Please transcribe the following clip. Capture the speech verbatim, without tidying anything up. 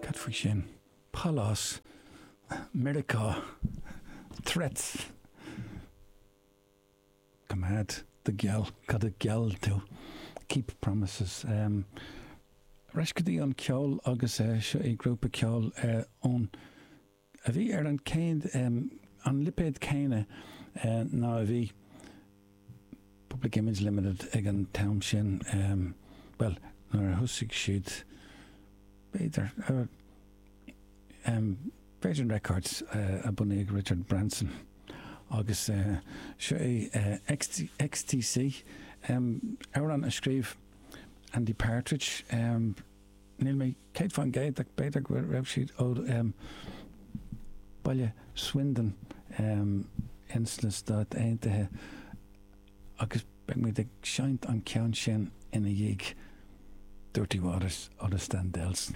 Cad faoi sin? Pálás, Meiriceá, threats. Coimeád do gheall, cad a gheall tú? Keep promises. Ar ais go dtí an ceol agus seo é grúpa ceoil ón a bhí ar an céad an lipéad céanna ná a bhí Public Image Limited ag an t-am sin, bhuel, nuair a thosaigh siad, b'fhéidir, Virgin Records a bunaíodh Richard Branson agus seo é XTC, amhrán a scríobh Andy Partridge, níl mé céad fán gcéad ach b'fhéidir go raibh siad ó baile Swindon ins na Stáit Aontaithe agus beidh muid ag seinnt an ceann sin ina dhiaidh Dirty Waters ó The Standells.